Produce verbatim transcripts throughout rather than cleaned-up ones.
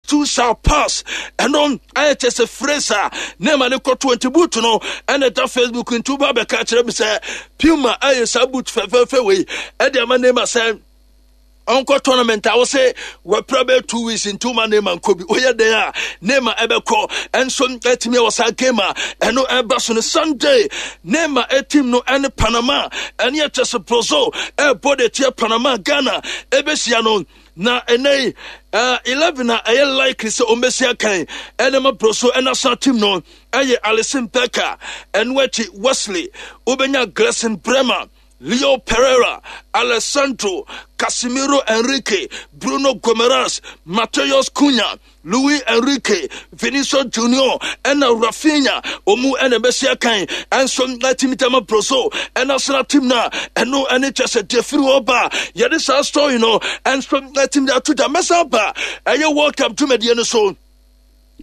Too shall pass. Ɛno ayɛ kyɛ sɛ phrase a Neymar ne kɔto nti boot no ɛna ɛda Facebook nti woba bɛka kyerɛ me sɛ Puma ayɛ saa boot fɛfɛɛfɛ wei ɛde ama Neymar sɛ ɔnkɔ tournament a wose wɔpra bɛyɛ two weeks nti woma Neymar nkɔ bi. Woyɛ dɛn a Neymar ɛbɛkɔ ɛnso atumi wɔ saa game a ɛno ɛba so no Sunday. Neymar team no ɛne Panama ɛne ɛkyɛ sɛ Brazil ɛbɔ de tia Panama. Ghana ɛbɛhyia no na ɛnɛ yi uh, eleven a ɛyɛ likely sɛ ɔmbɛsi akan ɛne ma Brazil ɛnational team no ɛyɛ Alisson Becker, ɛno akyi Wesley, wobɛnya Gleison Bremer, Leo Pereira, Alessandro, Casimiro Enrique, Bruno Gomes, Mateus Cunha, Luis Enrique, Vinicius Junior ɛna Rafinha. Ɔmu ɛna ɛbɛsi akan ɛnso ɛtumi tɛma Brazil ɛnational team no a ɛno ɛne kyɛ sɛ deɛ firi hɔ ba yɛde saa story no ɛnso ɛtumi de ato dwa. Mɛsa ba ɛyɛ World Cup dwumadie no so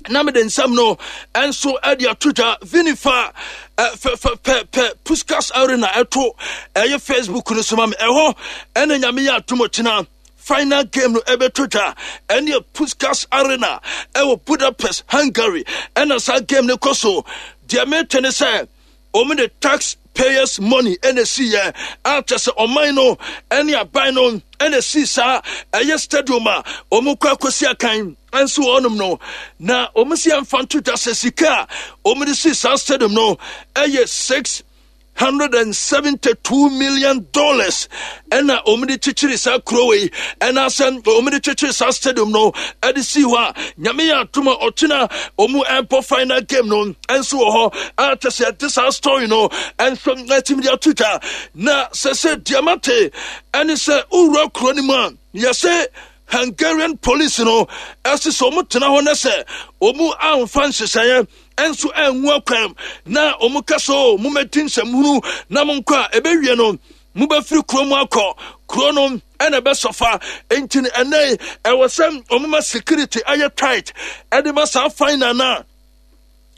na mede nsɛm no ɛnso ɛde ato dwa. Vinifa pɛ Puskas Arena ɛto ɛyɛ Facebook no so ma me. Ɛhɔ ɛna Nyame yɛ atom kyena final game no ɛbɛto dwa. Ɛne Puskas Arena ɛwɔ Budapest, Hungary, ɛna saa game no kɔ so. Deɛ mete ne sɛ wɔn de tax payers money ɛna esi yɛ akyɛ sɛ ɔman no ɛne aban no ɛna esi saa ɛyɛ stadium a wɔn kɔ akɔsi akan nso wɔnom no. Na wɔn si ɛmfa nto dwa sɛ sika a wɔn de si saa stadium no ɛyɛ six hundred and seventy two million dollars ɛna wɔn de kyekyere saa kuro yi, ɛna asɛm wɔn de kyekyere saa stadium no ɛde si hɔ a Nyame yɛ atom a ɔkyena wɔn ɛbɔ final game no ɛnso wɔ hɔ a kyɛ sɛ ɛde saa story no ɛnso ɛtumi de ato dwa. Na sɛ sɛ diamante ɛne sɛ owura kuro no mu a, yɛsɛ Hungarian police no ɛsi sɛ wɔn tena hɔ na sɛ wɔn amfa nhyehyɛeɛ ɛnso ɛngu akwan na wɔn ka so mo mɛdi nsɛmhunu na mo nkɔ a ɛbɛwie no mobɛfiri kuro mu akɔ kuro no ɛna ɛbɛsɔfa. Nti no ɛnɛ ɛwɔ sɛ wɔn ma security ayɛ tight ɛde ma saa final na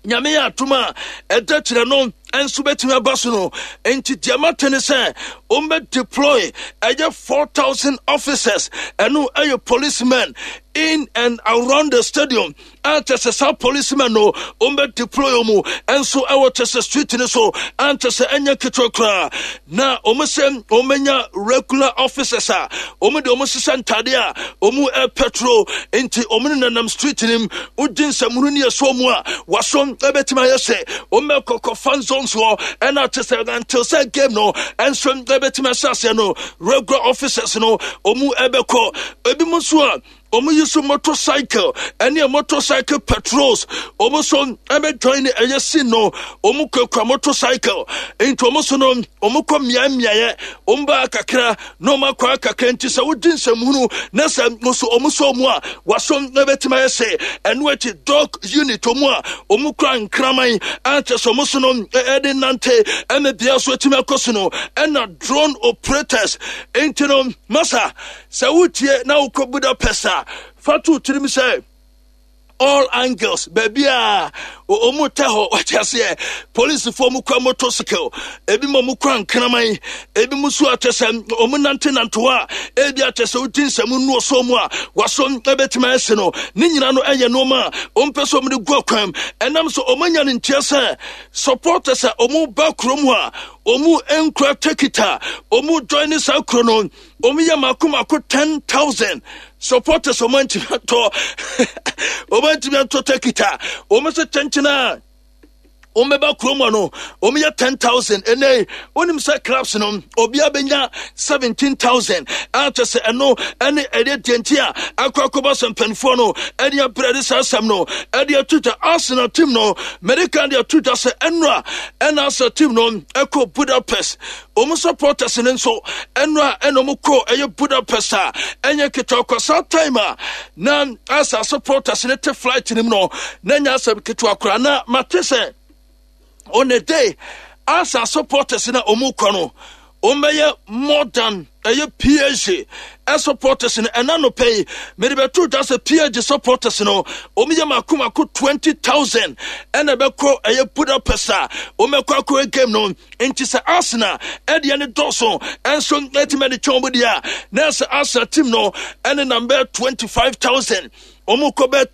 Nyame yɛ atom a ɛda kyerɛ no nso bɛtumi aba so no. Nti deɛ mate ne sɛ wɔmbɛ deploy ɛyɛ four thousand officers, ɛno ɛyɛ policemen, in and around the stadium a kyɛ sɛ saa policemen no wɔmbɛ deploy mu ɛnso ɛwɔ kyɛ sɛ street no so ankyɛ sɛ ɛnyɛ ketewa koraa. Na wɔn sɛ wɔmɛnya regular officers a wɔn de wɔn hyehyɛ ntadeɛ a wɔn ɛpɛtro nti wɔn nenam street nim wogye nsɛmunu ne ɛsoɔ mu a waso ɛbɛtumi ayɛ sɛ wɔn bɛkɔkɔ fan zones hɔ ɛna kyɛ sɛ until sɛ game no ɛnso ɛbɛtumi ahyɛ aseɛ no, regular officers no wɔn ɛbɛkɔ. Ebi mu nso a wɔn yi so motorcycle ɛne motorcycle patrols, wɔn nso ɛbɛ join ne ɛyɛ scene no. Wɔn kurakura motorcycle nti wɔn nso no wɔn kɔ mmea mmeaeɛ, wɔn ba kakra na wɔn akɔ akakra. Nti sɛ wogye nsɛmhunu na sɛ nso wɔn nso wɔn a waso ɛbɛtumi ayɛ sɛ ɛno akyi dog unit, wɔn a wɔn kura nkraman akyɛ sɛ wɔn nso no ɛde nante ɛna bea so atumi akɔ so no, ɛna drone operators. Nti no masa sɛ wotie na wokɔ Budapest a, fa to tirim sɛ all angles baabi a ɔmu tɛ hɔ wate aseɛ. Polisifoɔ mu kura motorcycle, ebi mu ɔmu kura nkraman, ebi mu nso akyɛ sɛ ɔmu nante nante hɔ a ebi akyɛ sɛ wodi nsɛm nnu ɔsɔ mu a waso ɛbɛtumi ayɛ no. Ne nyinaa no ɛyɛ nneɛma a ɔmpɛ sɛ ɔmu de gu akwan ɛnam so ɔmu anya ne nteɛ sɛ supporters a ɔmu ba kurom a ɔmu nkura ticket a ɔmu join ne saa kuro no, ɔmu yɛ mako mako ten thousand supporters. Ɔmu antumi atɔ ɔmu antumi atɔ ticket a ɔmu sɛ kyɛnkyɛn a wɔn bɛba kurom hɔ no, wɔn yɛ ten thousand. Ɛnɛ wɔnim sɛ clubs no obiara bɛnya seventeen thousand a kyɛ sɛ ɛno ɛne ɛdeɛ deɛ nti a akɔ akɔba sɛ mpanimfoɔ no ɛde abrɛ de saa asɛm no ɛde ato dwa. Arsenal team no mɛdika de ato dwa sɛ ɛnora ɛna Arsenal team no ɛkɔ Budapest, wɔn supporters no nso ɛnora ɛna wɔn kɔ ɛyɛ Budapest a ɛnyɛ ketewa kɔ. Saa time a na Arsenal supporters no te flight no mu no na nyɛ asɛm ketewa koraa. Na mate sɛ on the day Arsenal supporters na ɔmu kɔ no, wɔn bɛyɛ more than ɛyɛ P S G supporters no. Ɛna no pɛ yi mede bɛto dwa sɛ P S G supporters no wɔn yɛ mako mako twenty thousand ɛna ɛbɛkɔ ɛyɛ Budapest a wɔn bɛkɔ akɔ game no. Nti sɛ Arsenal ɛdeɛ ne dɔɔso ɛnso ɛtumi ɛde twɛn wɔn deɛ a na sɛ Arsenal team no ɛne number twenty five thousand wɔn kɔ bɛɛ.